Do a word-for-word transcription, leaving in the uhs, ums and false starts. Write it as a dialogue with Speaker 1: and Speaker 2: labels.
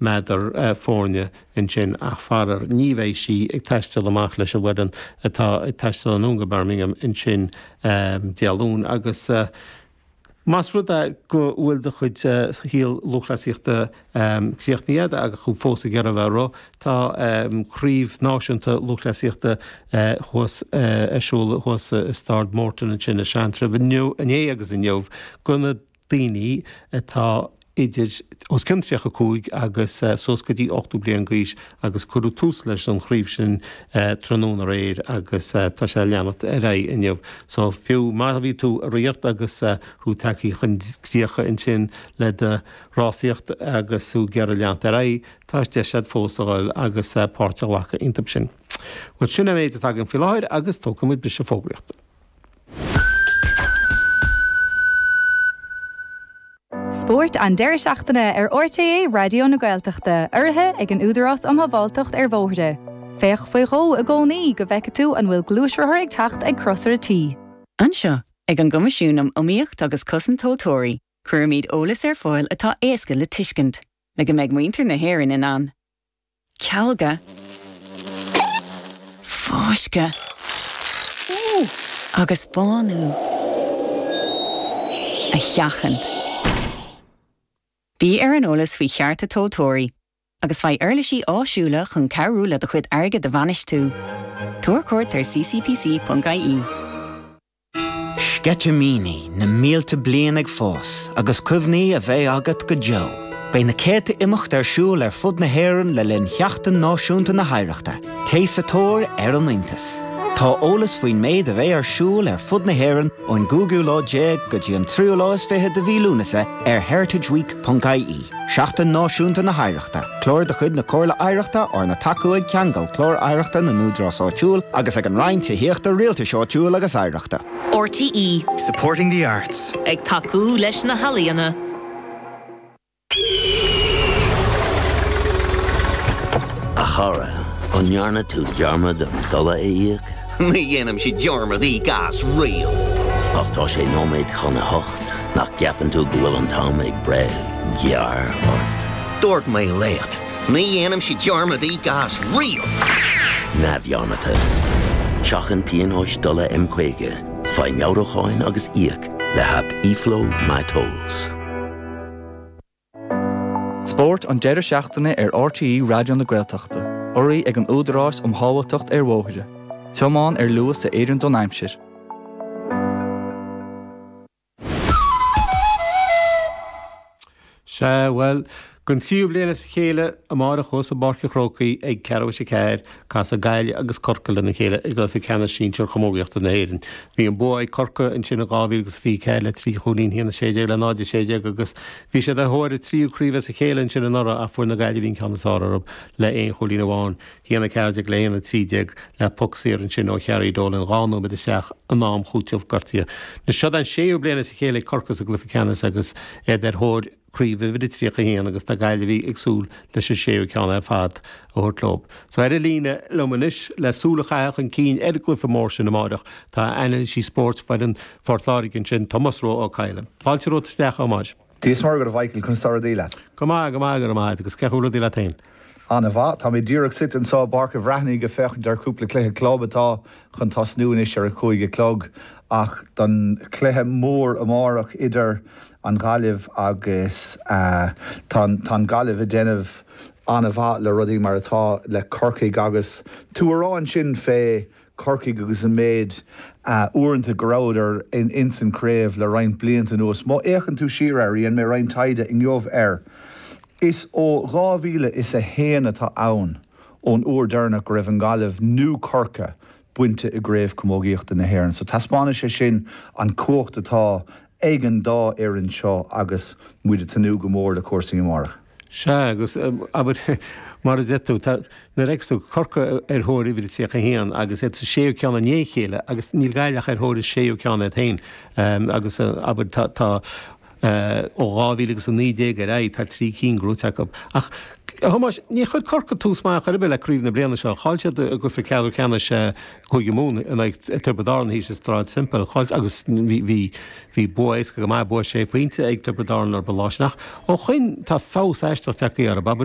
Speaker 1: meadar foirne ansin ach faraor ní bheidh sí ag taisteal amach leis an bhfoireann atá ag taisteal anonn go Birmingham ansin Dé Luain agus más rud é go bhfuil do chuid shaol lúthchleasaíochta críochnaithe agat agus thú fós ag iarraidh a bheith ag rith, tá craobh náisiúnta lúthchleasaíochta thuas ar siúl thuas i Staid Morton ansin i Seantrabh inniu, inné agus inniu do na daoine atá idir os cionn tríocha cúig agus suas go dtí ochtó bliain d'aois agus cuireadh tús leis an chraobh sin tráthnóna aréir agus tá sé ag leanacht ar aghaidh inniu. So fiú má bhí tú ag ritheacht agus thú tagtha chun críocha ansin le do rásaíocht agus thú ag iarraidh leanacht ar aghaidh, tá deis agat fós a dhul agus páirt a ghlacadh iontu sin. Bhuel sin an méid atá againn faoi láthair agus tógfaidh muid briseadh fógraíochta.
Speaker 2: Spórt an deireadh seachtaine ar RTÉ Raidió na Gaeltachta, urraithe ag an Údarás um Shábháilteacht ar Bhóithre. Féach faoi dhó i gcónaí go bhfeice tú an bhfuil gluaisrothar ag teacht ag crosaire T.
Speaker 3: Anseo, ag an gCoimisiún um Iomaíocht agus Cosaint Tomhaltóirí, cuirimid eolas ar fáil atá éasca le tuiscint, le go mbeidh muintir na hÉireann in ann cealga, fáisceadh agus bánú a sheachaint. Bí ar an eolas faoi chearta tomhaltóirí agus faigh uirlisí áisiúla chun cabhrú le do chuid airgid a bhainistiú. Tabhair cuairt ar ccpc.ie.
Speaker 4: Sceitimíní na mílte bliain ag fás agus cuimhní a bheidh agat go deo. Beidh na céadta imeacht ar siúl ar fud na hÉireann le linn Sheachtain Náisiúnta na hOidhreachta. Téigh sa tóir ar an iontas. Tá eolas faoin méid a bheidh ar siúl ar fud na hÉireann ón gcúigiú lá déag go dtí an tríú lá is fiche de mhí Lúnasa ar heritageweek.ie. Seachtain Náisiúnta na hOidhreachta, clár de chuid na Comhairle Oidhreachta arna tacú ag Ceangal Clár Oidhreachta na nÚdarás Áitiúil agus ag an Roinn Tithíochta Rialtais Áitiúil agus Oidhreachta.
Speaker 5: RTÉ.
Speaker 6: Supporting the arts.
Speaker 5: Ag tacú leis na healaíona.
Speaker 7: A chara, an ndearna tú dearmad an dola a íoc?
Speaker 8: Ní dhéanaimse dearmad íoc as riamh.
Speaker 7: Ach tá sé nóiméad chun a hocht, nach gceapann tú go bhfuil an t-am ag breith gearr ort?
Speaker 8: Dúirt mé leat, ní dhéanaimse dearmad íoc as riamh!
Speaker 7: Neamhdhearmadta. Seachain pionóis dola M caoga, faigh meabhrúcháin agus íoc le haip eFlow MyTolls.
Speaker 9: Spórt an deireadh seachtaine ar RTÉ Raidió na Gaeltachta, urraithe ag an Údarás um Shábháilteacht ar Bhóithre. Tiomáin ar luas a oireann don aimsir.
Speaker 1: Sea, bhuel, don tríú bliain as a chéile, amárach thuas i bPáirc an Chrócaigh ag ceathrú tar éis a ceathair, casfaidh Gaillimh agus Corcaigh lena chéile i gcluiche ceannais sinsir chamógaíochta na hÉireann. Bhí an bua ag Corcaigh ansin in dhá mhíle agus fiche ceathair le trí chúilín, a haon a sé déag le náid a sé déag agus bhí siad ar thóir a tríú craobh as a chéile ansin anuraidh ach fuair na Gaillimhigh an ceann is fearr orthu le aon chúilín amháin, a haon a ceathair déag le haon a trí déag le poc saor ansin ó Chiarraí Dolan dhá nóiméad isteach in am chúiteamh gortaithe. Seo an séú bliain as a chéile ag Corcaigh sa gcluiche ceannais agus iad ar thóir craobh uimhir a tríocha a haon agus tá Gaillimhigh ag súil leis an séú ceann ar fad a thabhairt leo. So ar an líne liom anois le súil a chaitheamh chun cinn ar an gcluiche mór sin amárach tá anailísí spóirt foireann Phort Láirge ansin, Tomás Rua Ó Cadhla. Fáilte romhat isteach, a Thomáis.
Speaker 10: Dia is Muire dhuit a Mhichael, conas tá rudaí leat?
Speaker 1: Go maith, go maith, go raibh maith agat agus cén chaoi a bhfuil rudaí leat féin?
Speaker 10: An-mhaith. Tá mé díreach suite anseo i bPáirc an Bhreathnaigh ag féachaint ar chúpla cluiche club atá chun tosnú anois ar a cúig a chlog ach don chluiche mór amárach idir an Ghaillimh agus tá an Ghaillimh ag déanamh an-mhaith le rudaí mar atá le Corcaigh agus tú a rá ansin fé Corcaigh agus an méid uaireanta go rabhadar ins an chraobh le roinnt blianta anuas. Má fhéachann tú siar air, dhein mé roinnt taighde inniu air, is ó dhá mhíle is a haon atá ann ón uair deireanach go raibh an Ghaillimh nó Corcaigh bainte i gCraobh Camógaíochta na hÉireann. So taispeánann sé sin an cumhacht atá ag an dá fhoireann seo agus muid ag tnúth go mór le cúrsaí amárach.
Speaker 1: Sea, agus abair, mar a deir tú, tá, nuair a fheiceas tú Corcaigh ar thóir uimhir a tríocha a haon agus iad sa séú ceann i ndiaidh a chéile agus níl Gaillimh ach ar thóir a séú ceann iad féin agus abair tá, tá ó dhá mhíle agus a naoi déag ar aghaidh tá trí cinn gnóite acu. Ach, a Thomáis, níor chuir Corcaigh tús maith chor ar bith le craobh na bliana seo. Chaill siad i gcluiche ceathrú ceannais Chúige Mumhan in aghaidh Tiobraid Árann thíos i Sráid Semple. Chaill, agus bhí, bhí, bhí bua éasca go maith, bua sé phointe ag Tiobraid Árann orthu an lá sin. Ach ó shoin tá feabhas aisteach tagtha orthu. Abair,